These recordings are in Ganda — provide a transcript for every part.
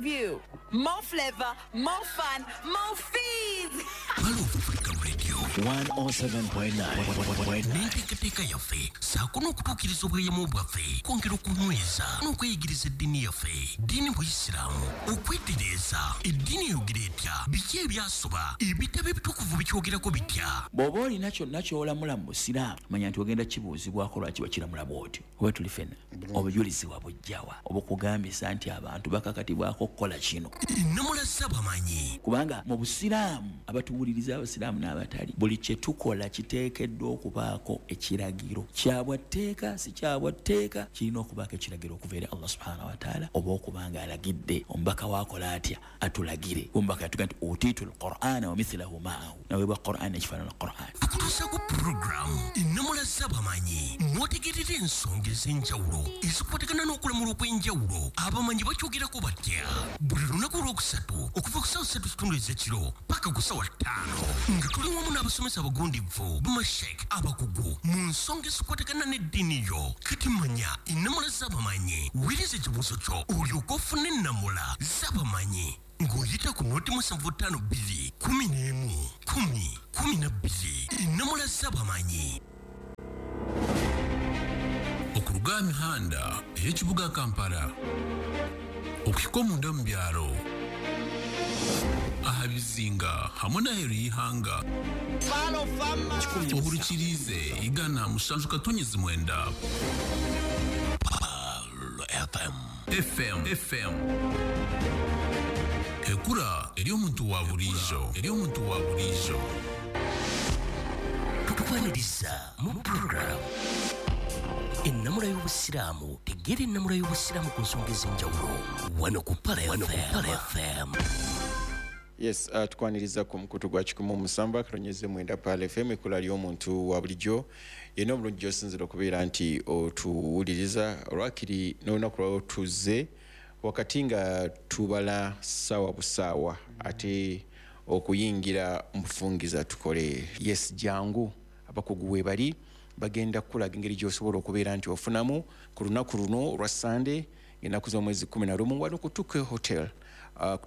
view. More flavor, more fun, more fees. African Radio 107.9. N'enteekateeka yaffe ssaako n'okutuukiriza obweyamo bwaffe, kwongera okunyweza n'okweyigiriza eddiini yaffe, ddiini buyisiraamu, okwetereeza eddiini eyogera etya, biki ebyasoba, ebitabo ebitukuvu bikyogerako bitya. Bw'oba olina kyonna ky'olamula mu busiraamu, manya nti ogenda kibuuzibwako lwaki wakiramula bw'otyo. Oba tuli ffenna obujulizi wabujjawa obukugambisa nti abantu bakakatibwako okukola kino? Ennamula z'abamanyi. Kubanga mu busiraamu, abatuwuliriza abasiraamu n'abatali, buli kye tukola kiteekeddwa okubaako ekiragiro kyabwa tteeka, si kyabwa tteeka, kirina okubaako ekiragiro okuva eri Allah subhanahu wataala, oba okuba nga alagidde omubaka waakola atya atulagire. Omubaka yatuga nti utiitu lqur'ana wa mithilahu maahu, naweebwa Quran ekifaanana Quran. Tukutuusaako puroguramu ennamula z'abamanyi, mw'otegerera ensonga ez'enjawulo ezikwatagana n'okulamula okw'enjawulo, abamanyi bakyogerako batya, buli lunaku olwokusatu okuva ku ssaawa 3:15 ez'ekiro paka ku ssaawa 5, nga tuli wamu n'abasomesa abagundivu, bamashek abakugu mu nsonga ezikwatagana n'eddiini yo. Kati manya ennamula z'abamanyi, weereza ekibuuzo kyo olyoke ofune ennamula z'abamanyi ng'oyita ku 075 2 11 10 12. Ennamula z'abamanyi. Okuruga aha mihanda ey'ekibuga Kampala okuhika omunda mu byaro, aha bizinga hamwe n'aheeru y'ihanga, ohurikiriize 107.9. FM. FM FM, ekura eri omuntu wa buriijo, eri omuntu wa buriijo. Tukwaniriza mu puroguramu ennamula y'obusiraamu. Tegeera ennamula y'obusiraamu ku nsonga ez'enjawulo wano ku Pala FM. Yes, tukwaniriza ku mukutu gwa 107.9 Pal FM, ekkula ly'omuntu wa bulijjo. Yenna obulungi gy'osinzira okubeera nti otuwuliriza olwakiri n'olunaku lwawo, tuzze wakati nga tubala ssaawa busaawa ate okuyingira mu bufungiza tukole. Yes, jangu, abakugu we bali, bagenda kukulaga engeri gy'osobola okubeera nti ofunamu ku lunaku luno olwa Sande, ennaku z'omwezi 11, wano ku Tuke Hotel,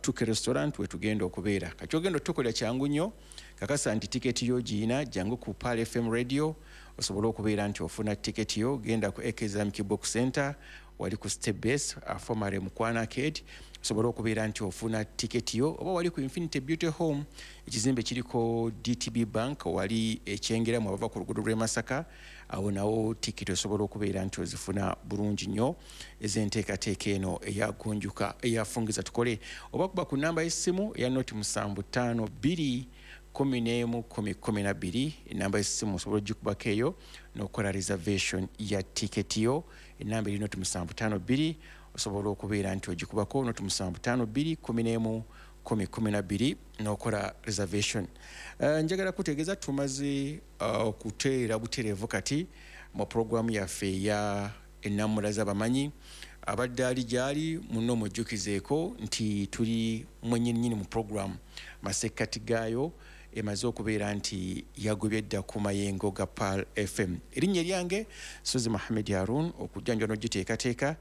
Tuke Restaurant wetugenda okubeera. Kati ogenda otukolera kyangu nnyo, kakasa nti tiketi yo giina, jangu ku Pal FM Radio osobole okubeera nti ofuna tiketi yo. Genda ku AK Islamic Book Center, wali ku Step Base, formerly Mukwana Arcade, osobole okubeera nti ofuna tiketi yo, oba wali ku Infinity Beauty Home, ekizimbe kiriko DTB Bank, wali ekyengeramu abava ku luguudo lw'e Masaka, awo nawo tiketi osobola okubeera nti ozifuna bulungi nnyo ez'enteekateeka eno eyagunjuka eyafungiza tukole, oba kuba ku namba y'essimu eya 075 2 11 10 12. Enamba y'essimu osobola ogikubako eyo n'okukola reservation ya tiketi yo. Enamba eri 0752, osobola okubeera nti ogikubako 0752 11 10 12 n'okola reservation. Njagala kutegeeza tumaze okuteera butereevu kati mu puroguramu yaffe eya ennamula z'abamanyi. Abadde ali gyali muno, mujjukizeeko nti tuli mwennyininyini mu puroguramu, masekkati gaayo emaze okubeera nti yagobye dda ku mayengo ga Pal FM. Erinnya eryange Sozi Muhammed Harun, okujjanjwa n'ogiteekateeka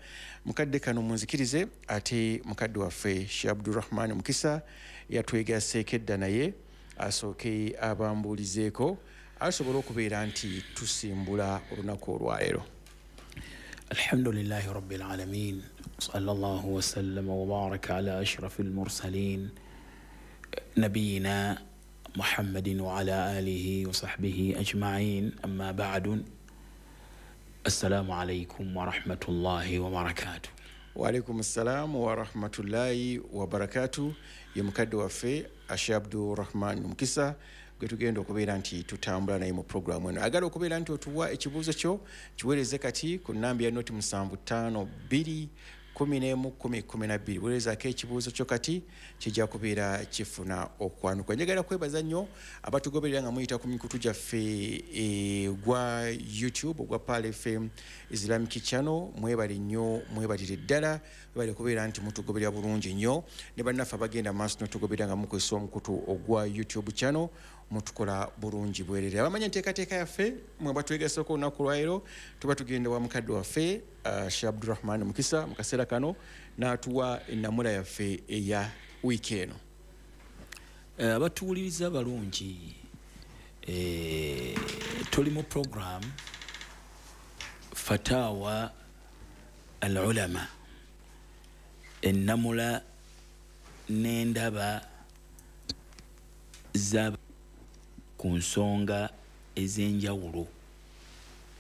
mukadde kano munzikirize ate mukadde waffe Sheikh Abdurahman Mukisa yatwegaseeko edda, naye asooke abambuulizeeko asobole okubeera nti tusimbula olunaku olwaleero. الحمد لله رب العالمين، صلى الله وسلم وبارك على أشرف المرسلين نبينا محمد وعلى آله وصحبه أجمعين، أما بعد، السلام عليكم ورحمة الله وبركاته. Waalaikum ssalaamu warahmatullahi wabarakatu. Ye mukadde waffe Ashe Abdurahman Mukisa gwe tugenda okubeera nti tutambula naye mu puroguramu eno. Agala okubeera nti otuwa ekibuuzo kyo, kiweereze kati ku namba ya 0752 11 10 12. Weerezaako ekibuuzo kyo kati, kijja kubeera kifuna okwanuka. Njagala kwebaza nnyo abatugoberera nga muyita ku mikutu gyaffe, ogwa YouTube ogwa Pal FM Islamic Channel. Mwebale nnyo, mwebalire ddala, mwebale kubeera nti mutugoberera bulungi nnyo, ne bannaffe abagenda maaso notugoberera nga mukozesa omukutu ogwa YouTube channel. Mutukola bulungi bwerere. Abamanya enteekateeka yaffe mwe batwegaseko olunaku lwaleero, tuba tugenda wa mukadde waffe Sheikh Abdurrahman Mukisa mu kaseera kano n'atuwa ennamula yaffe eya wiiki eno. Abatuwuliriza balungi, tuli mu program Fatawa al Ulama, ennamula n'endaba za ku nsonga ez'enjawulo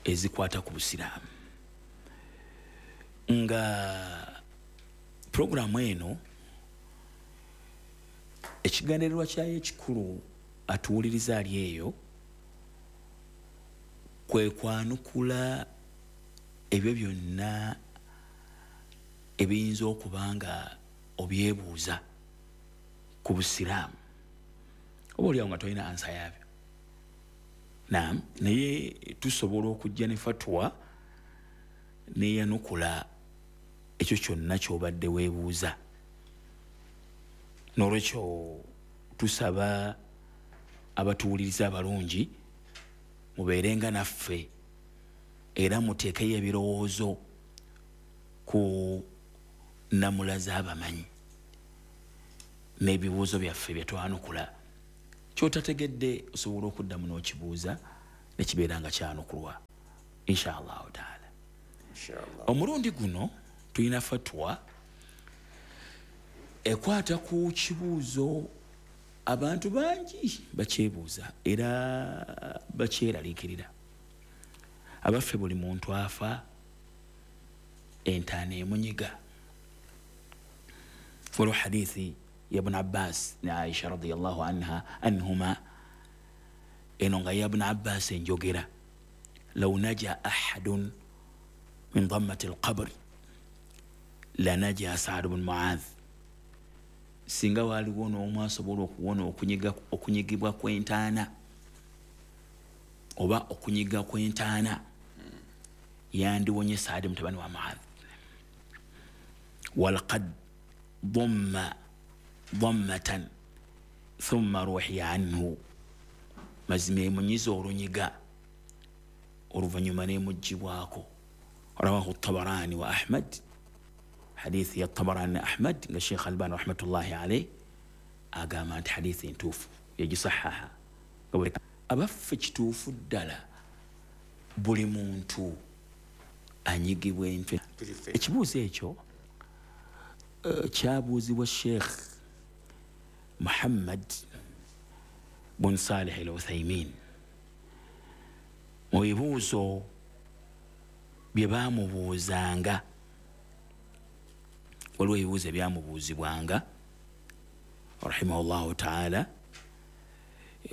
ezikwata ku busiraamu. Nga puroguramu eno ekigendererwa kyayo ekikulu atuwuliriza ali eyo kwe kwanukula ebyo byonna ebiyinza okuba nga obyebuuza ku busiraamu, oba oliawo nga tolina ansa yaabyo. Naam, naye tusobola okujja ne fatwa neyanukula ekyo kyonna ky'obadde weebuuza. N'olwekyo tusaba abatuwuliriza abalungi mubeerenga naffe era muteekeyo ebirowoozo ku nnamula z'abamanyi n'ebibuuzo byaffe bye twanukula. Ky'otategedde osobola okuddamu n'okibuuza nekibeera nga kyanukulwa insha Allahu taala. Omulundi guno tulina fatwa ekwata ku kibuuzo abantu bangi bakyebuuza era bakyeraliikirira. Abaffe, buli muntu afa entaana emunyiga. Waliwo hadithi ya Ibn Abbas ne Aisha radiyallahu anha anhuma, eno nga ya Ibn Abbas enjogera, law naja ahadun min dammati alqabr la naja Sa'd ibn Mu'adh. Singa waliwo n'omu asobola okuwona okunyigibwa kw'entaana oba okunyiga kw'entaana, yandiwonye Saadi mutabani wa Mu'adh. Walaqad dhamma dhammatan thumma ruhiya anhu, mazima emunyiza olunyiga oluvannyuma n'emuggyibwako. Rawahu Tabarani wa Ahmad, hadithi ya Tabarani ne Ahmad, nga Sheikh Albani rahmatullahi alayhi agamba nti hadithi ntuufu, yagisahaha. Abaffe, kituufu ddala buli muntu anyigibwa entwe? Ekibuuzo ekyo kyabuuzibwa Sheikh Muhammad bun Salih al Uthaymin mu bibuuzo bye baamubuuzanga. Waliwo ebibuuzo ebyamubuuzibwanga rahimahullahu taala.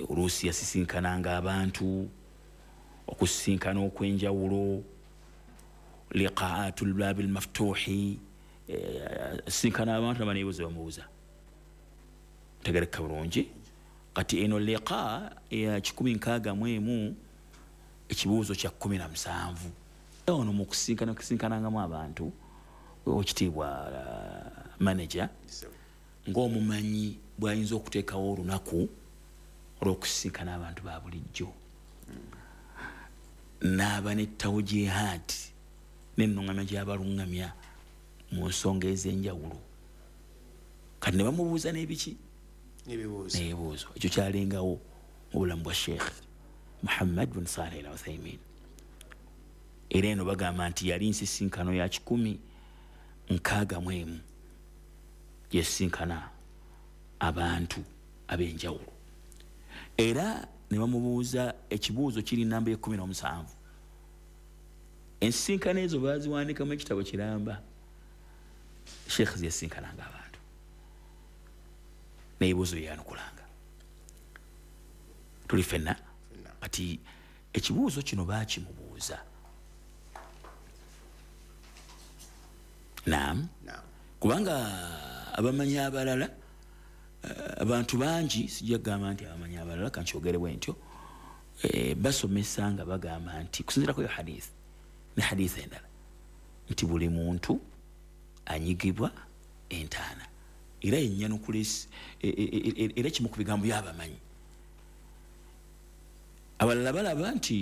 Oluusi yasisinkananga abantu okusisinkana okw'enjawulo, liqaatul babil maftuhi, asisinkana abantu aba n'ebibuuzo bamubuuza. Ntegereka bulungi. Kati eno liqa ya 161 ekibuuzo kya 17. Ono mu kusinkana kusinkanangamu abantu, okitiibwa manager ng'omumanyi bw'ayinza okuteekawo olunaku olw'okusisinkana abantu ba bulijjo, n'aba ne tawjihaati n'ennuŋŋamya gy'abaluŋŋamya mu nsonga ez'enjawulo. Kati ne bamubuuza n'ebiki n'ebibuuzo. Ekyo kyalengawo mu bulamu bwa Sheikh Muhammad bin Saleh al Uthaymin. Era eno bagamba nti yali nsisinkano ya 161 yasisinkana abantu ab'enjawulo. Era ne bamubuuza ekibuuzo kiri namba 17. Ensisinkano ezo baaziwandikamu ekitabo kiramba Sheikh zeyasinkananga abantu n'ebibuuzo byeyanukulanga. Tuli ffenna. Kati ekibuuzo kino baakimubuuza. Naam, kubanga abamanyi abalala, abantu bangi, sijja kugamba nti abamanyi abalala, kankyogere bwe ntyo, basomesa nga bagamba nti kusinziirako yo hadith ne hadith endala nti buli muntu anyigibwa entaana. Era ennyanukula era kimu ku bigambo by'abamanyi. Abalala balaba nti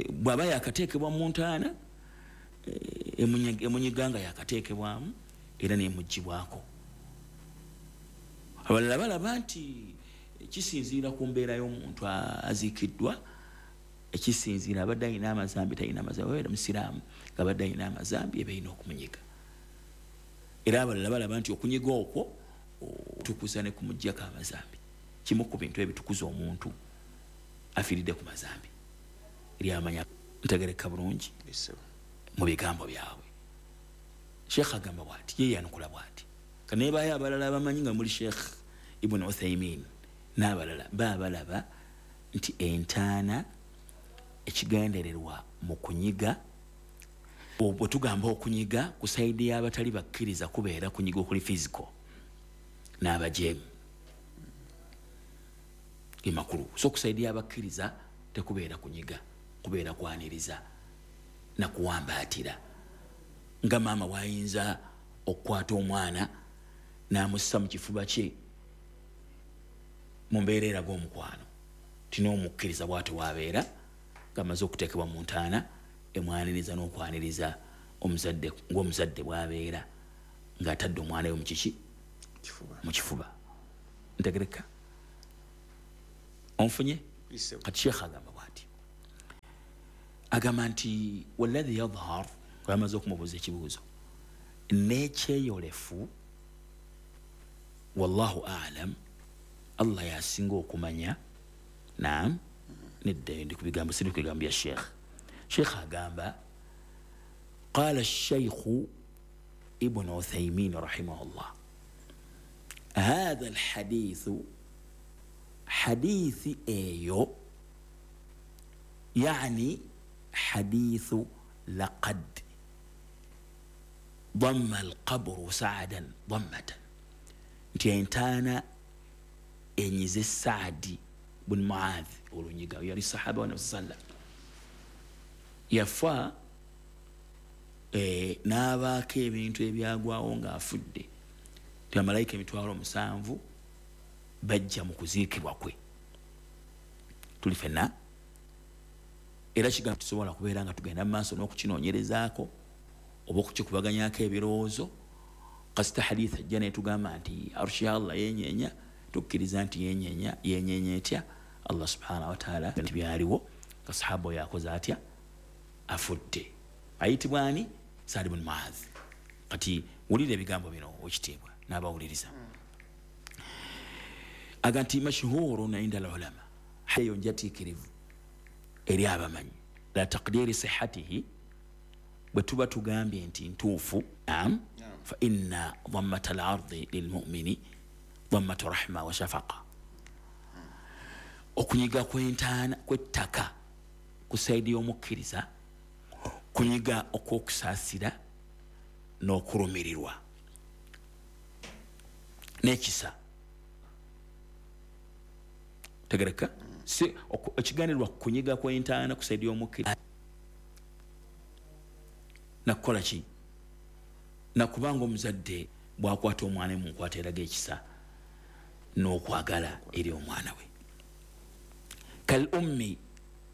bw'aba yakateekebwa mu ntaana, emunyiga nga yakateekebwamu era nemugibwako. Abalala balaba nti kisinziira ku mbeera y'omuntu aziikiddwa, ekisinziira abadde alina amazambi, talina amazambi, abeera musiraamu ng'abadde alina amazambi, eba erina okumunyiga. Era abalala balaba nti okunyiga okwo tukuza ne kumuggyako amazambi, kimu ku bintu ebitukuza omuntu afiiridde ku mazambi eri amanya. Ntegereka bulungi mu bigambo byabwe. Sheekh agamba bwati, ye yanukula bwati, kanebayo abalala abamanyi nga muli Sheekh Ibn Uthaymin n'abalala baabalaba nti entaana ekigendererwa mu kunyiga, bwe tugamba okunyiga ku sayidi y'abatali bakkiriza kubeera kunyiga okuli physical n'abajeemu emakulu, so ku sayidi y'abakkiriza tekubeera kunyiga, kubeera kwaniriza na kuwambaatira, nga maama wayinza okukwata omwana n'amussa mu kifuba kye mu mbeera eraga omukwano, tin'omukkiriza bw'atyo waabeera ng'amaze okuteekebwa mu ntaana, emwaniriza n'okwaniriza omuzadde ng'omuzadde bw'abeera ng'atadde omwana we mu kiki, mu kifuba. Ntegereka onfunye? Kati Sheekh agamba bw'ati, agamba nti walladhi yadhhar, bamaze okumubuuza ekibuuzo n'ekyeyolefu, wallahu a'lam, Allah yasinga okumanya. Naam, nedda ndi ku bigambo, siri ku bigambo bya Sheekh. Sheekh agamba qala Sheikhu Ibn Uthaymin rahimahullah, hadha alhadithu, hadithi eyo, yani hadithu laqad damma alqabru sa'adan dammatan, nti entaana enyize Saadi bun Muadh olunyiga, yali sahaba wa Nabi sallam, yafa n'abaako ebintu ebyagwawo ng'afudde, nti bamalayika 7,000 bajja mu kuziikibwa kwe. Tuli ffenna era kigambo tusobola kubeera nga tugenda mu maaso n'okukinoonyerezaako oba okukikubaganyako ebirowoozo. Kasita hadith ajja netugamba nti arshi ya Allah yenyeenya, tukkiriza nti yenyeenya. Yenyeenya etya? Allah subhanahu wa ta'ala nti byaliwo nga sahaba oyo akoze atya, afudde. Ayitibwa ani? Saad ibn Muadh. Kati wulira ebigambo bino owekitiibwa n'abawuliriza, aga nti mashhurun inda al-ulama, eyo njatiikirivu eri abamanyi, la taqdiri sihhatihi, bwe tuba tugambye nti ntuufu, naam, fa inna dhammata al-ardi lilmumini dhammatu rahma wa shafaqa, okunyiga kw'entaana kw'ettaka ku sayidi y'omukkiriza kunyiga okw'okusaasira n'okulumirirwa n'ekisa. Tegereka si ekiganirwa kunyiga kw'entaana ku sayidi y'omukkiriza nakukola ki, nakubanga omuzadde bw'akwata omwana we mu nkwata eraga ekisa n'okwagala eri omwana we. Kal ummi,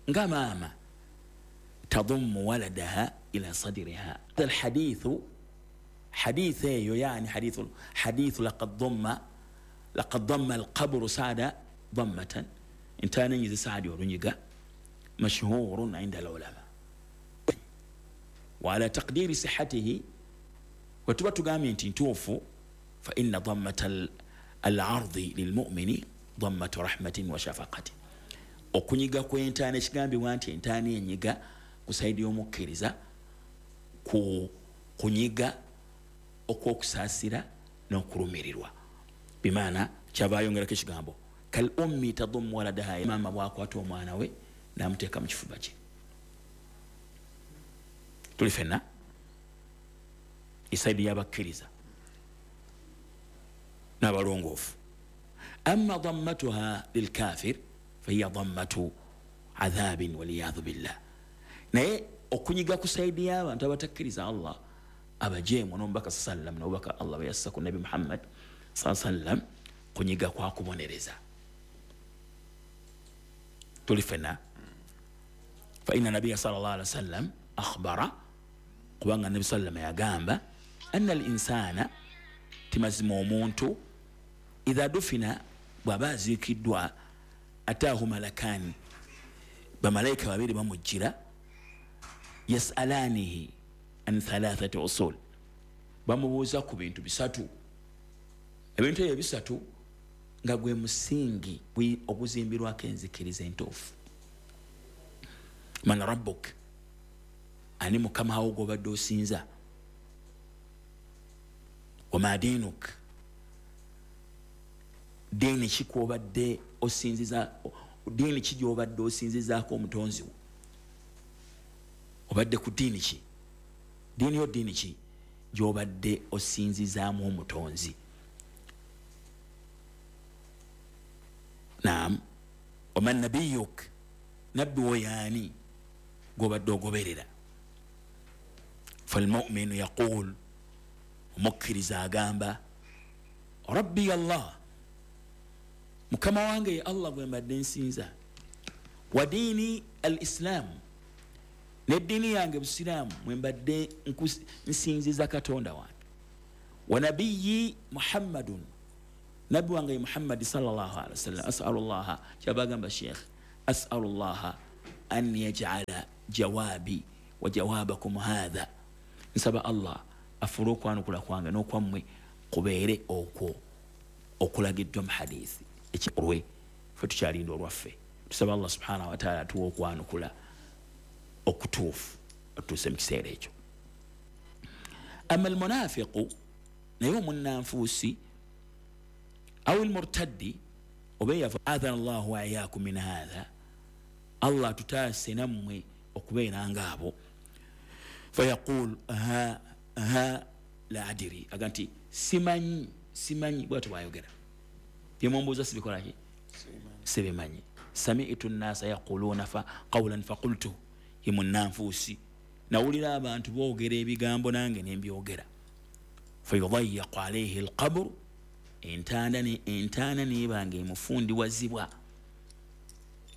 nga maama, tadummu waladaha ila sadriha. Alhadithu, hadith eyo, yani hadithu laqad damma alqabru saada dammatan, entaana enyize Saadi olunyiga, mashhurun inda alulama wa ala taqdiri sihhatihi, wetuba tugambye nti ntuufu, fa inna dammata al-ardi lilmumini dammatu rahmatin wa shafaqatin, okunyiga kw'entaana, ekigambibwa nti entaana enyiga ku sayidi y'omukkiriza ku kunyiga okw'okusaasira n'okulumirirwa. Bimaana kyava ayongerako ekigambo kal ummi tadummu waladaha, maama bw'akwata omwana we n'amuteeka mu kifuba kye. Tuli ffenna esayidi y'abakkiriza n'abalongoofu. Amma dammatuha lilkafir fahiya dammatu adhabin waliyadhu billah, naye okunyiga ku sayidi y'abantu abatakkiriza Allah, abajeemu n'omubaka sallam, n'obubaka Allah bwe yassa ku Nabi Muhammad sallam, kunyiga kwa kubonereza. Tuli fenna. Fa inna nabiyya sallallahu alaihi wasallam akhbara, kubanga nabi sallama yagamba anna al-insana, timazima omuntu, idha dufina, bw'aba aziikiddwa, ataahu malakani, bamalayika babiri bamujjira, yasalanihi an thalathati usul, bamubuuza ku bintu bisatu. Ebintu ebyo bisatu nga gwe musingi oguzimbirwako enzikiriza entuufu. Man rabbuk, ani mukama wo gw'obadde osinza? Wama dinuk, diini ki kw'obadde osinziza, diini ki gy'obadde osinzizaako omutonzi wo? Obadde ku diini ki? Diini yo diini ki gy'obadde osinzizaamu omutonzi? Naam. Waman nabiyuk, nabbi wo yaani gw'obadde ogoberera? Falmuminu yaqul, omukkiriza agamba, rabbi Allah, mukama wange ye Allah gwe mbadde nsinza, wa diini al islam, neddiini yange busiraamu mwe mbadde nsinziza Katonda wange, wa nabiyyi Muhammadun, nabbi wange ye Muhammadi sallallahu alaihi wasallam. Asalullaha, kyabagamba sheikh, asalullaha an yaj'ala jawabi wa jawabakum hadha, nsaba Allah afuule okwanukula kwange n'okwammwe kubeere okwo okulagiddwa mu hadithi ekikulwe. Ffe tukyalinda olwaffe, tusaba Allah subhanahu wa ta'ala atuwe okwanukula okutuufu otuuse mu kiseera ekyo. Amma almunafiqu, naye omunnanfuusi, aw almurtaddi, oba eyava, adhana Allahu wa iyyakum min hadha, Allah atutaase nammwe okubeera ng'abo. Fayaqul ha ha la adiri, aga nti simanyi, simanyi, bwatyo bwayogera, byemumbuuza sibikolaki, sibimanyi. Sami'tu nnasa yaquluna fa qawlan faqultu, ye munnanfuusi, nawulira abantu boogera ebigambo nange nembyogera. Fayudayyaqu alayhi alqabru, entaana nebanga emufundiwazibwa,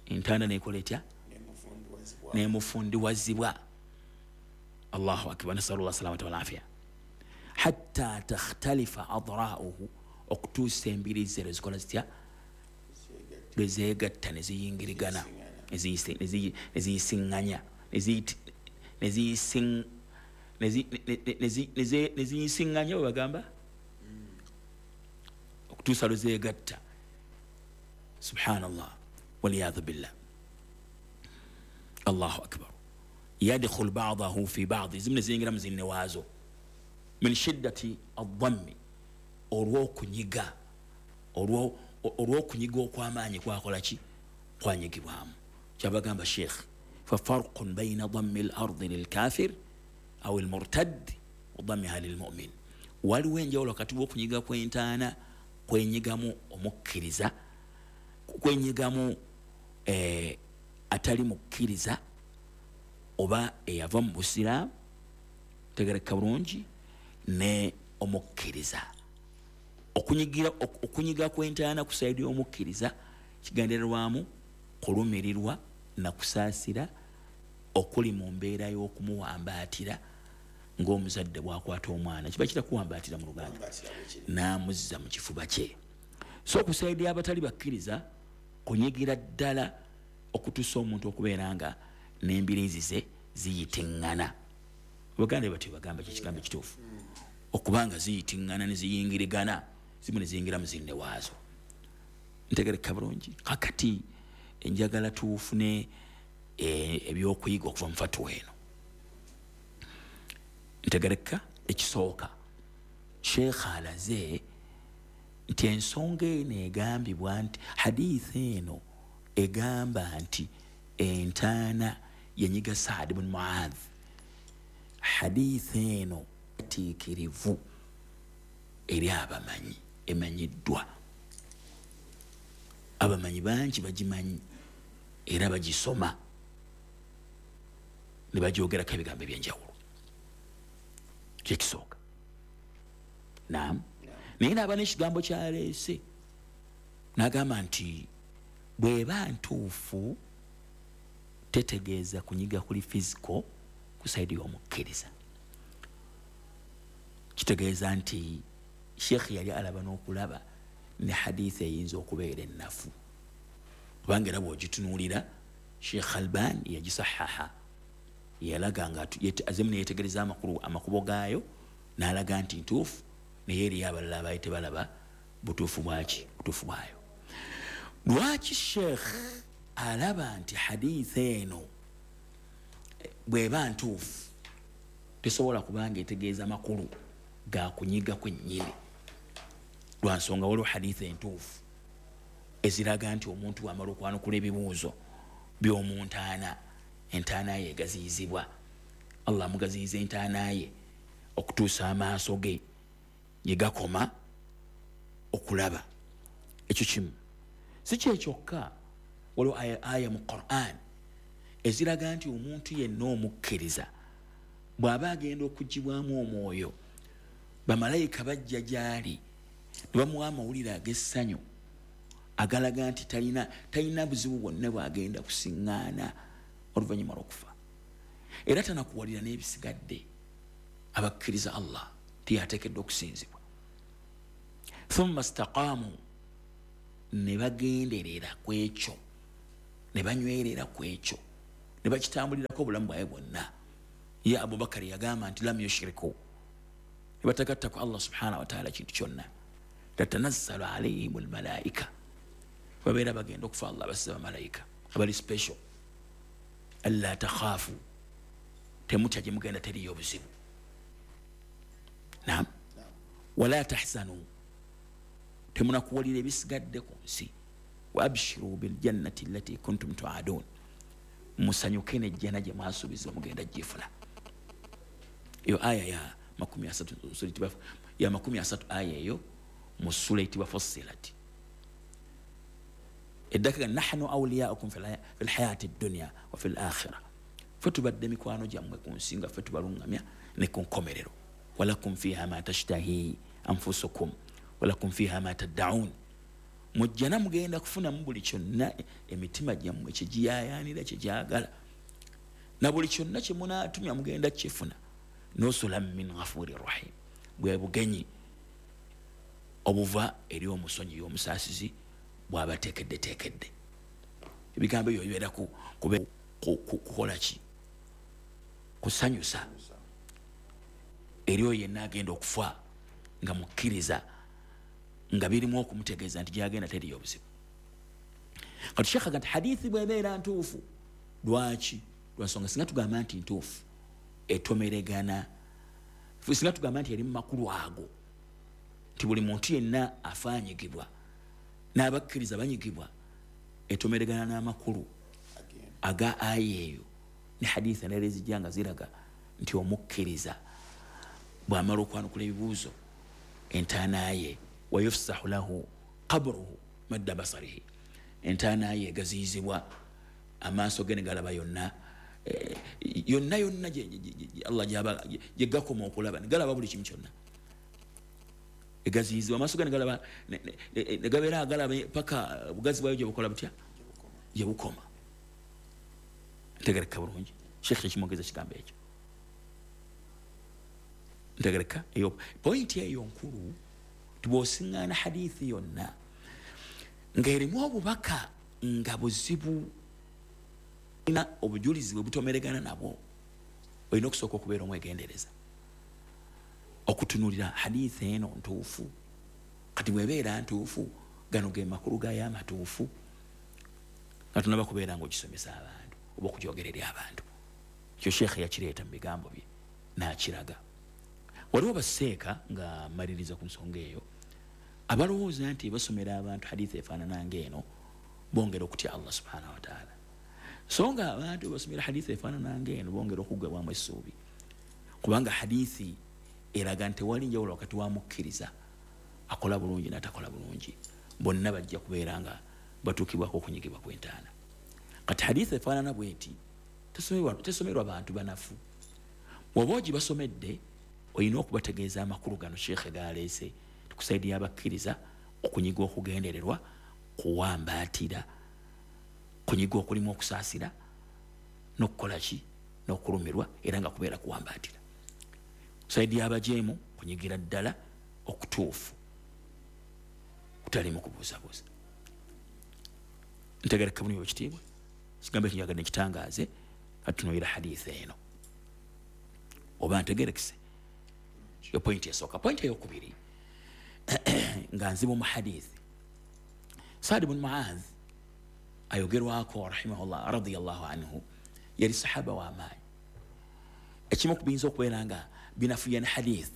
entaana nekola etya? Nemufundiwazibwa. Allahu akbar, nasalullah salamata walafiya. Hatta takhtalifa adra'uhu, okutuusa embiri ze lwezikola zitya, lwezeegatta neziyingirigana, neziyisiŋŋanya, neziyisiŋŋanya bwe bagamba, okutuusa lwezeegatta. Subhanallah waliyadhu billah. Allahu akbar. Yadkhul ba'dahu fi ba'd, zimu neziyingira mu zinne waazo, min shiddati adhammi, olw'okunyiga, olw'okunyiga okw'amaanyi kwakola ki, kwanyigibwamu. Kyabagamba sheikh, fa farqun bayna dhammi al-ardi lilkafir aw almurtad wa dhammiha lilmu'min, waliwo enjawulo wakati w'okunyiga kw'entaana kwenyigamu omukkiriza, kwenyigamu atali mukkiriza oba eyava mu busiraamu, tegereka bulungi, ne omukkiriza. Okunyiga kw'entaana ku sayidi y'omukkiriza kigendererwamu kulumirirwa na kusaasira okuli mu mbeera y'okumuwambaatira ng'omuzadde bw'akwata omwana, kiba kitakuwambaatira mu Luganda, n'amuzza mu kifuba kye. So ku sayidi y'abatali bakkiriza kunyigira ddala okutuusa omuntu okubeera nga n'embiriizi ze ziyitiŋŋana. Abaganda batyo bagamba kyekigambo ekituufu, okubanga ziyitiŋŋana ne ziyingirigana, zimu ne ziyingira mu zinne waazo. Ntegereka bulungi. Kakati enjagala tuufune ebyokuyiga okuva mu fatuwa eno. Ntegereka ekisooka, sheikh alaze nti ensonga eno egambibwa nti hadithi eno egamba nti entaana yanyiga Saad bin Muadh, hadithi eno tiikirivu eri abamanyi, emanyiddwa, abamanyi bangi bagimanyi era bagisoma ne bagyogerako ebigambo ebyenjawulo. Kyekisooka. Naam. Naye naaba n'ekigambo kyaleese n'agamba nti bw'eba ntuufu Tetegeeza kunyiga kuli physical ku side y'omukkiriza. Kitegeeza nti Sheikh yali alaba n'okulaba ne hadithi eyinza okubeera ennafu, kubanga era bw'ogitunuulira Sheikh Albani yagisahaha, yalaga nga azemu neyetegereza amakulu amakubo gaayo n'alaga nti ntuufu, naye eriyo abalala abaali tebalaba butuufu bwaki, butuufu bwayo. Lwaki Sheikh alaba nti hadithi eno bw'eba ntuufu tesobola kubanga etegeeza makulu ga kunyiga kwennyini? Lwa nsonga waliwo hadithi entuufu eziraga nti omuntu bw'amala okwanukula ebibuuzo by'omuntaana, entaana ye egaziyizibwa, Allah amugaziyiza entaana ye okutuusa amaaso ge gye gakoma okulaba. Ekyo kimu. Si kye kyokka, waliwo aya mu Quran eziraga nti omuntu yenna omukkiriza bw'aba agenda okugibwamu omwoyo, bamalayika bajja gy'ali ne bamuwa amawulire ag'essanyu agalaga nti talina buzibu bwonna bw'agenda kusiŋŋaana oluvannyuma lw'okufa, era tanakuwalira n'ebisigadde. Abakkiriza Allah tiyateekeddwa okusinzibwa. Thumma staqaamu, ne bagenderera ku ekyo, ne banywerera ku ekyo, ne bakitambulirako obulamu bwabwe bwonna. Ye Abubakari yagamba nti lam yushriku, ne batagatta ku Allah subhanahu wa taala kintu kyonna. Tatanazzalu alayhim almalaika, babeera bagenda okufa Allah basiza bamalayika abali special. Alla takhaafu, temutya gye mugenda teriyo buzibu. Naam. Wala tahzanu, temunakuwalira ebisigadde ku nsi. Wa abshiru biljannati allati kuntum tuadun, musanyuke n'ejjana gye mwasuubizibwa mugenda gifuna. Eyo aya ya 30, ya 30, aya eyo mu ssula eyitibwa Fussilat. Eddaka nahnu awliyaukum fi lhayati dunya wa fi lakhira, ffe tubadde mikwano gyammwe ku nsi nga ffe tubalungamya ne ku nkomerero. Walakum fiha ma tashtahi anfusukum walakum fiha ma taddaun, mujjana mugenda kufunamu buli kyonna emitima gyammwe kyegiyayaanira kyegyagala, na buli kyonna kye munaatumya mugenda kukifuna. Nusulan min ghafuri rahim, bwe bugenyi obuva eri omusonyi omusaasizi bw'abateekeddeteekedde. Ebigambo ebyo bibeera kukola ki? Kusanyusa eri oyo yenna agenda okufa nga mukkiriza, nga birimu okumutegeeza nti gyagenda teriyo obuzibu. Kati Sheikh agamba nti hadithi bw'ebeera ntuufu, lwaki? Lwansonga singa tugamba nti ntuufu etomeregana, singa tugamba nti eri mu makulu ago nti buli muntu yenna afaanyigibwa n'abakkiriza banyigibwa, etomeregana n'amakulu aga aya eyo ne hadithi endala ezijja nga ziraga nti omukkiriza bw'amala okwanukula ebibuuzo entaana ye wayufsahu lahu qabruhu madda basarihi, entaana ye egaziyizibwa amaaso ge ne galaba yonna yonna yonna Allah gye gakoma okulaba, ne galaba buli kimu kyonna. Egaziyizibwa amaaso ge ne galaba ne gabeera agalaba paka bugazi bwayo gye bukola butya, gye bukoma. Ntegereka bulungi Sheikh kyekimwogeza kigambo ekyo. Ntegereka eyo pointi eyo nkulu. Tibw'osiŋŋaana hadithi yonna ng'erimu obubaka nga buzibu na obujulizi bwe butomeregana nabwo, olina okusooka okubeera omwegendereza okutunuulira hadithi eno ntuufu. Kati bw'ebeera ntuufu, gano ge makulu gayo amatuufu, nga tunaba kubeera ng'ogisomesa abantu oba okugyogera eri abantu. Ekyo Sheikh yakireeta mu bigambo bye n'akiraga. Waliwo baseeka nga maliriza ku nsonga eyo abalowooza nti basomera abantu hadithi efaanana ng'eno bongera okutya Allah subhanahu wa taala, so nga abantu basomera hadithi efaanana ng'eno bongera okuggwebwamu essuubi, kubanga hadithi eraga nti tewali njawulo wakati wa mukkiriza akola bulungi n'atakola bulungi, bonna bajja kubeera nga batuukibwako okunyigibwa kw'entaana. Kati hadithi efaanana bweti tesomerwa bantu banafu. Bw'oba ogibasomedde olina okubategeeza amakulu gano Sheikh galeese tukusaidia abakkiriza okunyiga okugendererwa, kuwambaatira, kunyiga okulimu okusaasira N'okukola ki? N'okulumirwa, era nga kubeera kuwambaatira. Side y'abajeemu kunyigira ddala okutuufu kutalimu kubuusabuusa. Ntegereka bulungi ekitiibwa, kigambo ekyo njagadde nkitangaaze. Katunuulira hadithi eno oba ntegerekese. Yo pointi esooka. Pointi eyokubiri nga nzibu mu hadithi, Saad bun Muadh ayogerwako rahimahullah radiyallahu anhu, yali sahaba w'amaanyi. Ekimu ku biyinza okubeera nga binafuya ne hadith,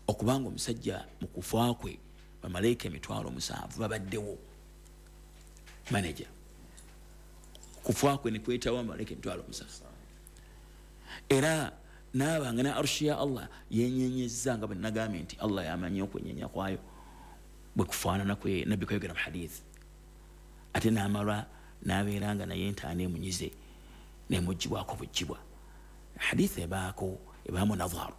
okubanga omusajja mu kufa kwe bamalayika 7,000 babaddewo. Manager kufa kwe ne kwetawo bamalayika 7,000, era naabanga ne arushi ya Allah yenyenyezza, nga bwe nagambye nti Allah yamanyi okwenyenya kwayo bwe kufaanana kwe nabbi kwayogera mu hadith. Ate n'amala n'abeera nga naye entaana emunyize nemugibwako bugibwa. Hadith ebaako ebaamu nadharu,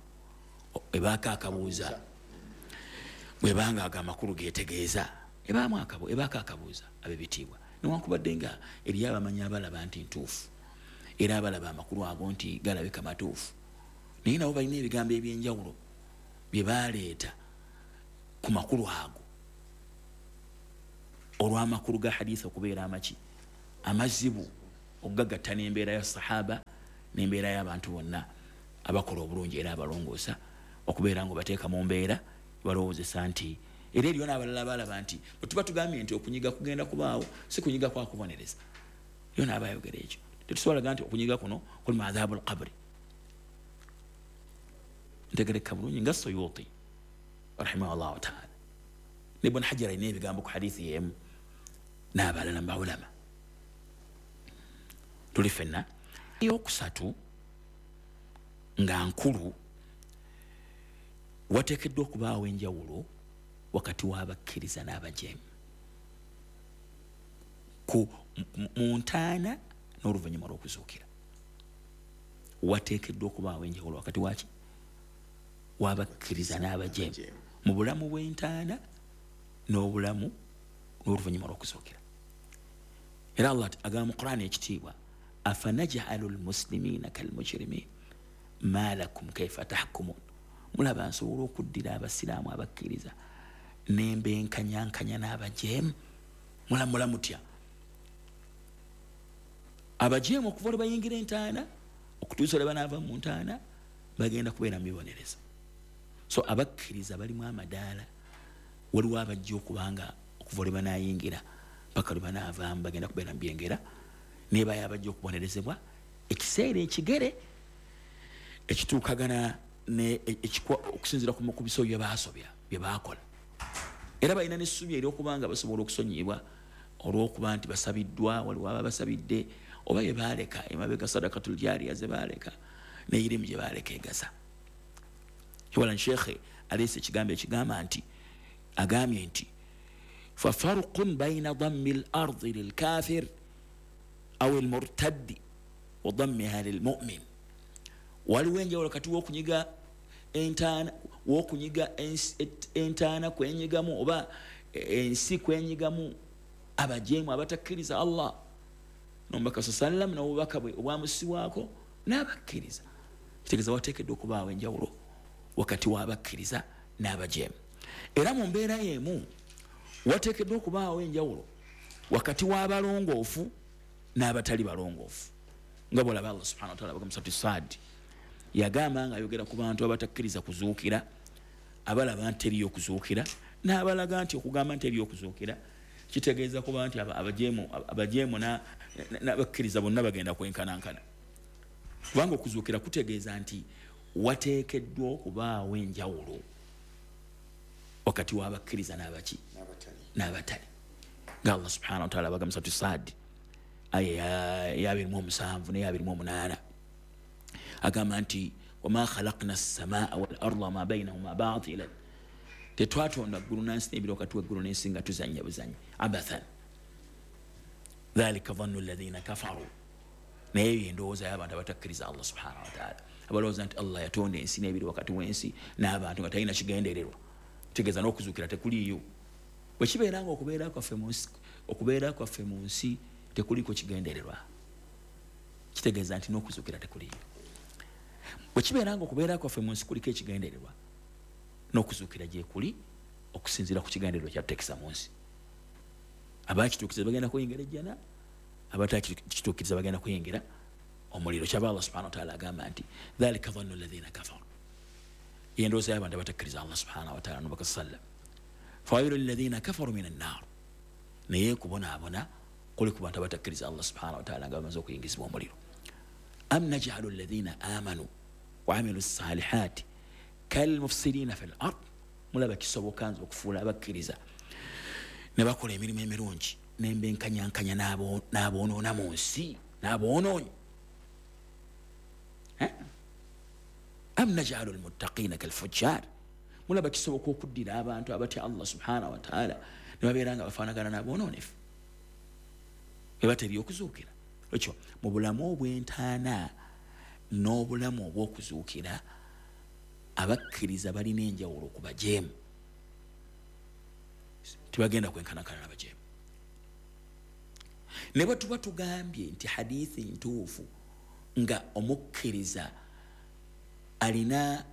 ebaako akabuuza, bwebanga ago amakulu getegeeza, ebaamu ebaako akabuuza ab'ebitiibwa. Newankubadde nga eri abamanyi abalaba nti ntuufu, era abalaba amakulu ago nti galabika matuufu, naye nabo balina ebigambo ebyenjawulo bye baleeta ku makulu ago, olw'amakulu ga hadith okubeera amaki amazibu okugagatta n'embeera ya sahaba n'embeera y'abantu bonna abakola obulungi era abalongoosa, okubeera nga bateeka mu mbeera balowoozesa nti era eriyo n'abalala balaba nti bwe tuba tugambye nti okunyiga kugenda kubaawo, si kunyiga kwa kubonereza. Yo n'abayogera ekyo tetusobola gamba nti okunyiga kuno kuli mu adhabu al-qabri. Ntegereka bulungi nga Suyuti rahimahullahu taala ne Ibn Hajar alina ebigambo ku hadithi y'emu n'abalala mu baulama. Tuli ffenna. Eyokusatu nga nkulu, wateekeddwa okubaawo enjawulo wakati w'abakkiriza n'abajeemu mu ntaana n'oluvannyuma lw'okuzuukira. Wateekeddwa okubaawo enjawulo wakati waki w'abakkiriza n'abajeemu mu bulamu bw'entaana n'obulamu n'oluvannyuma lw'okuzuukira. Era Allah agamba mu Qur'an ekitiibwa, afanaj'alu lmuslimina kalmujrimin ma lakum kaifa tahkumun. Mulaba nsobola okuddira abasiraamu abakkiriza nembenkanyankanya n'abajeemu. Mulamula mutya? Abajeemu okuva lwe bayingira entaana okutuusa lwe banaava mu ntaana bagenda kubeera mu bibonerezo. So abakkiriza balimu amadaala, waliwo abajja okubanga okuva lwe banaayingira paka lwe banaavaamu bagenda kubeera mu byengera, nebayo abajja okubonerezebwa ekiseera ekigere ekituukagana okusinziira ku biso bye baasobya bye baakola. Era balina n'essuubi ery'okubanga basobola okusonyiyibwa olw'okuba nti basabiddwa, waliwo aba basabidde oba bye baaleka emabega, sadakatul jariya ze baaleka n'eyirimu gye baaleka egasa. Kiwala Sheikh aleese ekigambo ekigamba nti, agambye nti fafarqun bayina dammi l-ardi lilkafir aw almurtaddi wa dammiha lilmumin. Waliwo enjawulo kati w'okunyiga entaana, w'okunyiga entaana kwenyigamu oba ensi kwenyigamu abajeemu abatakkiriza Allah n'omubaka sallam n'obubaka bwe obwamusiwaako n'abakkiriza. Kitegeeza wateekeddwa okubaawo enjawulo wakati w'abakkiriza n'abajeemu. Era mu mbeera y'emu wateekeddwa okubaawo enjawulo wakati w'abalongoofu n'abatali balongoofu, nga bw'olaba Allah subhanahu wa ta'ala bagamba Suratu Saad yagamba nga ayogera ku bantu abatakkiriza kuzuukira, abalaba nti teriyo okuzuukira, n'abalaga nti okugamba nti teriyo okuzuukira kitegeeza kuba nti abajeemu n'abakkiriza bonna bagenda kwenkanankana, kubanga okuzuukira kutegeeza nti wateekeddwa okubaawo enjawulo wakati w'abakkiriza n'abaki n'abatali. Nga Allah subhanahu wa ta'ala bagamba Suratu Saad aya ya 27 ne 28 agamba nti wama khalaqna as-samaa wal arda ma bainahuma batilan, tetwatonda ggulu n'ensi n'ebiri wakati w'eggulu n'ensi nga tuzannya buzanyi, abathan dhalika dhannu alladhina kafaru. Naye eyo endowooza y'abantu abatakkiriza Allah subhanahu wa ta'ala, abalowooza nti Allah yatonda ensi n'ebiri wakati w'ensi n'abantu nga talina kigendererwa, kitegeeza n'okuzuukira tekuliiyo. Bwe kibeera nga okubeera kwaffe mu nsi tekuliko kigendererwa, Kitegeeza nti n'okuzuukira tekuliyo. Bwe kibeera nga okubeera kwaffe mu nsi kuliko ekigendererwa, n'okuzuukira gye kuli okusinziira ku kigendererwa kyatuteekesa mu nsi. Abakituukiriza bagenda kuyingira ejjana, abatakituukiriza bagenda kuyingira omuliro. Kyava Allah subhanahu wa ta'ala agamba nti dhalika dhannu alladhina kafaru, yendowooza y'abantu abatakkiriza Allah subhanahu wa ta'ala n'omubaka sallam. Fawailu lilladhina kafaru minan nar, naye kubonaabona kuli ku bantu abatakkiriza Allah subhanahu wa ta'ala nga bamaze okuyingizibwa omuliro. Am naj'alu alladhina amanu wa amilu ssalihati kalmufsidina fil ard, mulaba kisoboka nze okufuula abakkiriza ne bakola emirimu emirungi nembenkanyankanya n'aboonoona mu nsi n'aboonoonyi. Am naj'alu almuttaqina kalfujjar, mulaba kisoboka okuddira abantu abatya Allah subhanahu wa ta'ala ne babeera nga bafaanagana n'aboonoonefu ebateri okuzuukira. Ekyo mu bulamu obw'entaana n'obulamu obw'okuzuukira, abakkiriza balina enjawulo ku bajeemu, tebagenda kwenkanankana n'abajeemu. Ne bwe tuba tugambye nti hadithi ntuufu nga omukkiriza alina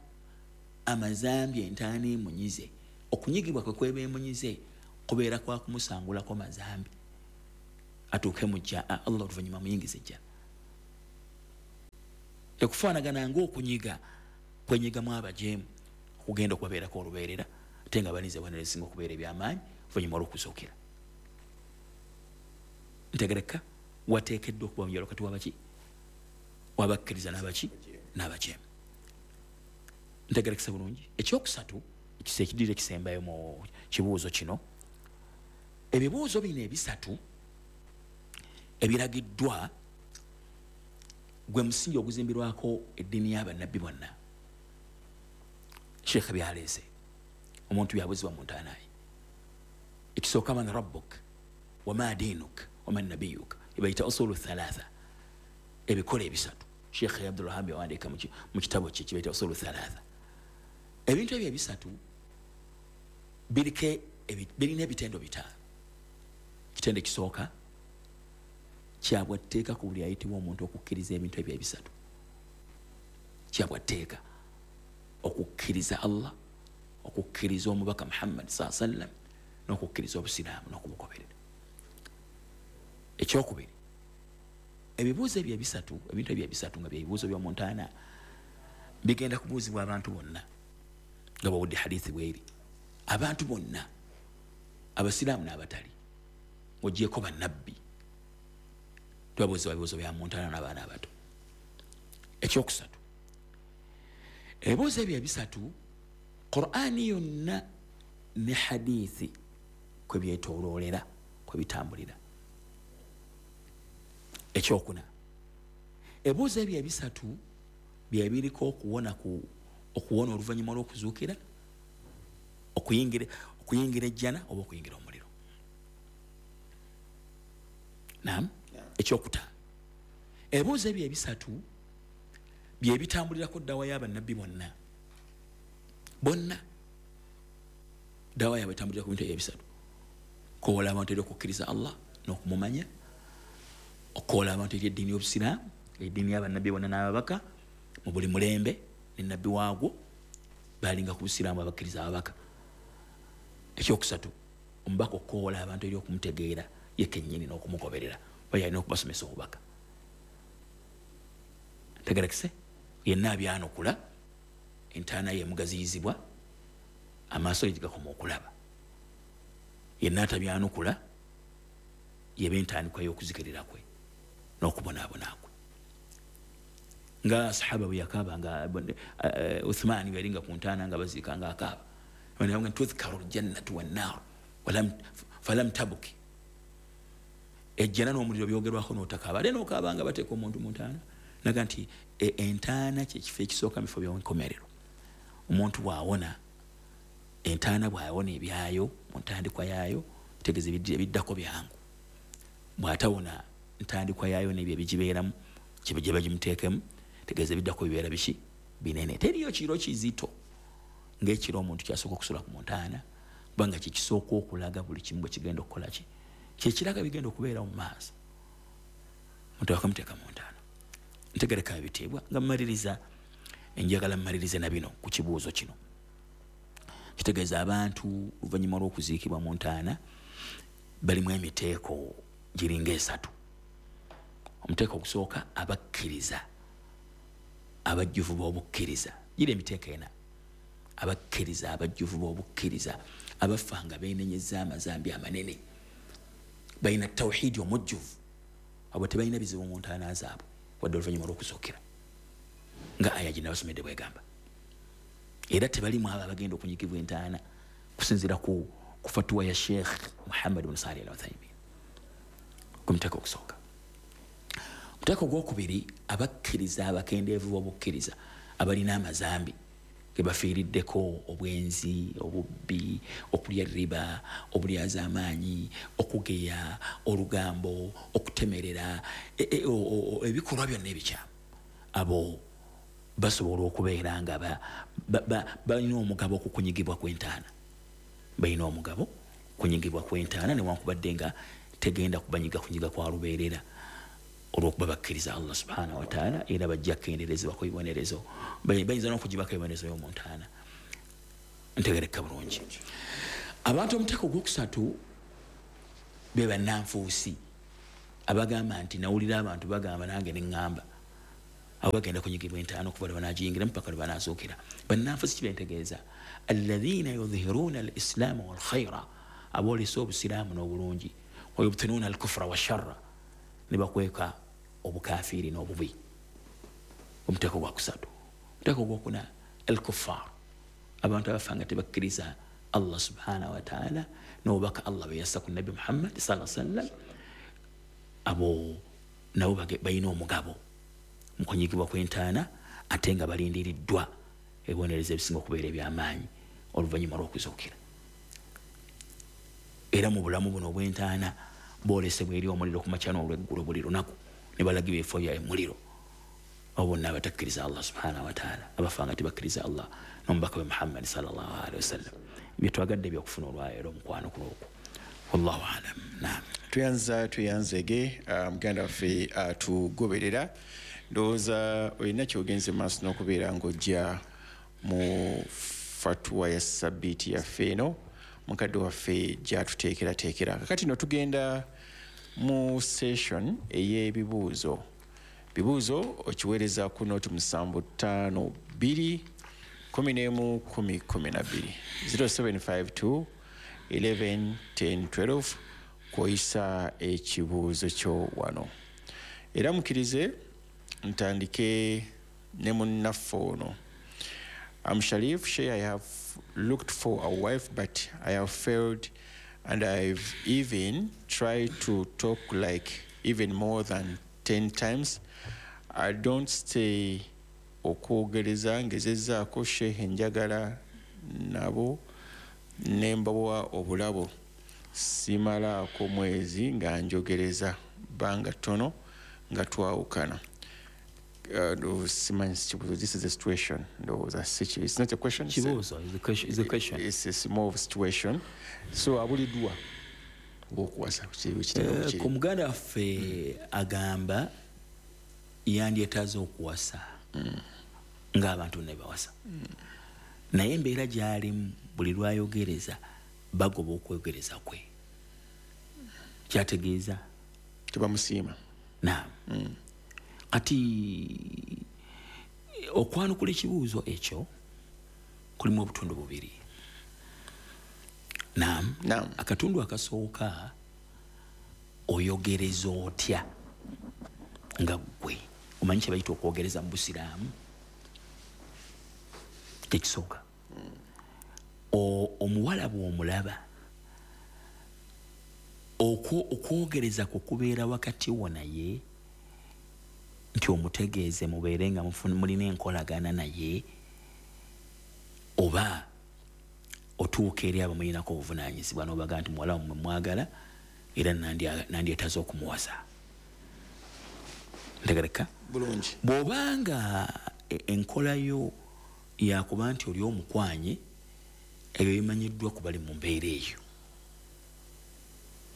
amazambi entaana emunyize, okunyigibwa kwe kweba emunyize kubeera kwa kumusangulako mazambi atuuke mu jja, Allah oluvannyuma amuyingize ejjana. Tekufaanagana ng'okunyiga kwenyigamu abajeemu okugenda okubabeerako olubeerera, ate nga balinze ebibonerezo ebisinga okubeera eby'amaanyi oluvannyuma olw'okuzuukira. Ntegereka wateekeddwa okuba munjawulo wakati w'abaki wabakkiriza n'abaki n'abajeemu. Ntegerekesa bulungi. Ekyokusatu ekidirira ekisembayo mu kibuuzo kino, ebibuuzo bino ebisatu ebiragiddwa gwe musingi oguzimbirwako eddiini y'abannabbi bonna. Sheikh byaleese omuntu byabuuzibwa mu ntaana ye. Ekisooka, man rabbuk wama dinuk waman nabiyuk, ebayita usulu thalatha, ebikola ebisatu. Sheikh Abdulwahab yawandiika mu kitabo kye kibayita usulu thalatha. Ebintu ebyo ebisatu birina ebitendo bitaano. Ekitendo ekisooka kyabwatteeka ku buli ayitibwa omuntu okukkiriza ebintu ebyo ebisatu. Kyabwatteeka okukkiriza Allah, okukkiriza omubaka Muhammad saa sallam, n'okukkiriza obusiraamu n'okumugoberera. Ekyokubiri, ebibuuzo ebyo ebisatu, ebintu ebyo ebisatu nga byebibuuzo by'omuntaana bigenda kubuuzibwa abantu bonna nga bawudde hadithi bweri. Abantu bonna, abasiraamu n'abatali, ng'ogyeko bannabbi, tubabuuzibwa ebibuuzo bya muntaana n'abaana abato. Ekyokusatu, ebibuuzo ebyo ebisatu Qur'ani yonna ne hadithi kwe byetooloolera, kwe bitambulira. Ekyokuna, ebibuuzo ebyo ebisatu byebiriko okuwona okuwona oluvannyuma lw'okuzuukira, okuyingira ejjana oba okuyingira omuliro. Naam. Ekyokutaano, ebibuuzo ebyo ebisatu byebitambulirako ddawa y'abannabbi bonna bonna. Ddawa yaabwe etambulira ku bintu ebyo ebisatu: okukowoola abantu eri okukkiriza Allah n'okumumanya, okukowoola abantu eri eddiini y'obusiraamu, eddiini y'abannabbi bonna n'ababaka mu buli mulembe ne nabbi waagwo, balinga ku busiraamu abakkiriza ababaka. Ekyokusatu, omubaka okukowoola abantu eri okumutegeera ye kennyini n'okumugoberera, oba yalina okubasomesa obubaka. Ntegerekese, yenna abyanukula entaana ye emugaziyizibwa, amaaso ge gakoma okulaba. Yenna atabyanukula yeba entandikwa y'okuzikirira kwe n'okubonaabona kwe. Nga sahaba bwe yakaaba, nga Uthmaani bwe yalinga ku ntaana nga baziika nga akaaba, tudhkaru ljannatu wannaaru falam tabuki, ejjana n'omuliro byogerwako n'otakaaba, ate n'okaaba nga bateeka omuntu mu ntaana. Naga nti entaana kyekifo ekisooka mu bifo by'enkomerero. Omuntu bw'awona entaana, bw'awona ebyayo mu ntandikwa yaayo, tegeeza ebiddako byangu. Bw'atawona ntandikwa yaayo n'ebyo ebigibeeramu gye bagimuteekemu, tegeeza ebiddako bibeera biki binene. Teriyo kiro kizito ng'ekiro omuntu kyasooka okusula ku muntaana, kubanga kyekisooka okulaga buli kimu bwe kigenda okukola ki, kyekiraga bigenda okubeera mu maaso. Omuntu bakamuteeka mu ntaana. Ntegereka ebitiibwa nga mmaliriza, enjagala mmalirize na bino ku kibuuzo kino. Kitegeeza abantu oluvannyuma lw'okuziikibwa mu ntaana balimu emiteeko giringa esatu. Omuteeko ogusooka, abakkiriza abajjuvu b'obukkiriza, gira emiteeko ena. Abakkiriza abajjuvu b'obukkiriza abafa nga beenenyezza amazambi amanene, balina tawhidi omujjuvu, abo tebalina bizibu mu ntaana zaabwe wadde oluvannyuma lw'okuzuukira, nga aya gye nabasomedde bwegamba. Era tebalimu abo abagenda okunyigibwa entaana kusinziira ku fatuwa ya Sheikh Muhammad bin Salih Al Uthaymin ku muteeko ogusooka. Omuteeko ogwokubiri, abakkiriza abakendeevu b'obukkiriza abalina amazambi ge bafiiriddeko, obwenzi, obubbi, okulya riba, obulyazaamaanyi, okugeya, olugambo, okutemerera, ebikolwa byonna ebikyamu, abo basobola okubeera nga balina omugabo okukunyigibwa kw'entaana, balina omugabo kunyigibwa kw'entaana, newankubadde nga tegenda kubanyiga kunyiga kwa lubeerera, olw'okuba bakkiriza Allah subhanahu wataala, era bajja kukenderezebwako ebibonerezo, bayinza n'okugibako ebibonerezo y'omu ntaana. Ntegereka bulungi. Abantu omuteeko ogwokusatu be bannanfuusi abagamba nti nawulira abantu bagamba nange neŋŋamba, abo bagenda kunyigibwa entaana okuva lwe banagiyingiramu paka lwe banaazuukira. Bannanfuusi kibentegeeza alladhina yudhhiruuna al islaama walkhaira, aboolesa obusiraamu n'obulungi, wayubtinuuna al kufra washarra, ne bakweka obukafiiri n'obubi. Omuteeko gwakusatu. Omuteeko gwokuna, al kuffar, abantu abafa nga tebakkiriza Allah subhanahu wataala n'obubaka Allah bwe yassa ku Nabbi Muhammad sallallahu sallam, abo nabo balina omugabo mu kunyigibwa kw'entaana, ate nga balindiriddwa ebibonerezo ebisinga okubeera ebyamaanyi oluvannyuma lw'okuzuukira. Era mu bulamu buno obw'entaana boolesebwa eri omuliro ku makya n'olweggulo buli lunaku, ne balagibwa ebifo bya emuliro. Abo bonna abatakkiriza Allah subhanahu wataala, abafa nga tebakkiriza Allah n'omubaka we Muhammad sallallahu alaihi wasallam. Byetwagadde byokufuna olwaleero omukwano ku lwokwo, wallahu alam. Naam. Tuyanza tuyanzege muganda waffe atugoberera, ndowooza olina kyogenze maaso n'okubeera ng'ojja mu fatuwa ya sabbiiti yaffe eno mukadde waffe gyatuteekerateekera. Kakati no tugenda mu session ey'ebibuuzo. Bibuuzo okiweereza ku noti 752 11 10 12, 0752 11 10 12, kwoyisa ekibuuzo kyo wano. Era mukkirize ntandike ne munnaffe ono. I'm Sharif Sheikh. I have looked for a wife, but I have failed, and I've even tried to talk like even more than 10 times. I don't stay okwogereza, ngezezzaako shehe, njagala nabo ne mbawa obulabo, simalaako mwezi nga njogereza, bbanga ttono nga twawukana. Simanyi kibuuzo. This is a situation, ndowooza si it's not a question. Kibuuzo is the question, is the question. It's more of a situation, so abuliddwa okuwasa. Ku muganda waffe agamba yandyetaaze okuwasa ng'abantu ne bawasa, naye embeera gy'alimu buli lwayogereza bagoba okwogereza kwe, kyategeeza tebamusiima. Naam. Kati okwanukula ekibuuzo ekyo kulimu obutundu bubiri. Naam. Naam. Akatundu akasooka, oyogereza otya nga ggwe omanyi kye bayita okwogereza mu busiraamu? Tekisooka, omuwala bw'omulaba, okwogereza kwe kubeera wakati wo naye nti omutegeeze mubeere nga mulina enkolagana naye, oba otuuka eri abamulinako obuvunaanyizibwa n'obaga nti muwala wammwe mwagala era nandyetaaze okumuwasa? Ntegereka bulungi. Bw'obanga enkola yo yakuba nti oli omukwanye, ebyo bimanyiddwa ku bali mu mbeera eyo.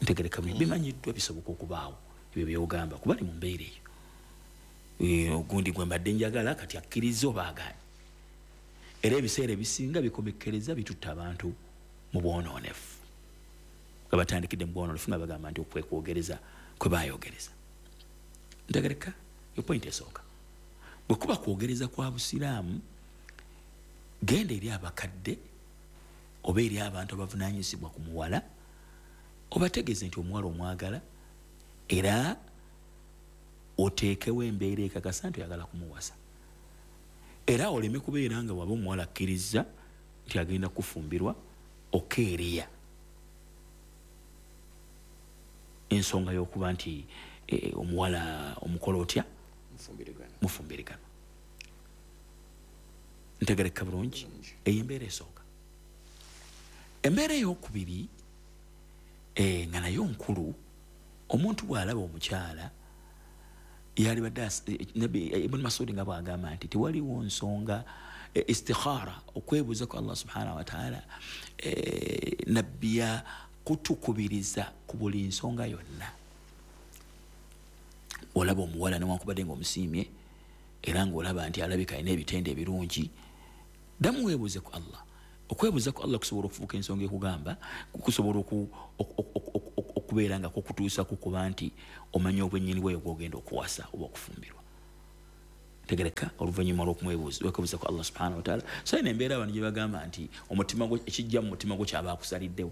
Ntegereka bulungi. Bimanyiddwa, bisoboka okubaawo ebyo byogamba ku bali mu mbeera eyo. Ogundi gwe mbadde njagala kati akkiriza oba agaanye. Era ebiseera ebisinga bikomekkereza bitutta abantu mu bwonoonefu, nga batandikidde mu bwonoonefu, nga bagamba nti okwekwogereza kwe bayogereza. Ntegereka yo point esooka. Bwe kuba kwogereza kwa busiraamu, genda eri abakadde oba eri abantu abavunaanyizibwa ku muwala, obategeeze nti omuwala omwagala, era oteekewo embeera ekakasa nti oyagala kumuwasa. Era oleme kubeera nga waba omuwala akkiriza nti agenda kufumbirwa, okeereya ensonga y'okuba nti omuwala omukola otya, mufumbirigana. Ntegereka bulungi eyo embeera esooka. Embeera eyokubiri, nga nayo nkulu, omuntu bw'alaba omukyala yalibadde Ibn Masudi nga bw'agamba nti tewaliwo nsonga, istikhara, okwebuuza ku Allah subhanahu wa ta'ala, nabbi kutukubiriza ku buli nsonga yonna. Olaba omuwala newankubadde ng'omusiimye era ng'olaba nti alabika alina ebitende ebirungi, ddamu weebuuze ku Allah. Okwebuuza ku Allah kusobola okufuuka ensonga ekugamba, kusobola okubeera nga kukutuusa ku kuba nti omanya obwennyini bweyo gw'ogenda okuwasa oba okufumbirwa. Tegereka oluvannyuma lw'okumwebuuza ku Allah subhanahu wa ta'ala. So eno embeera abantu gye bagamba nti omutima gwo, ekijja mu mutima gwo kyaba akusaliddewo.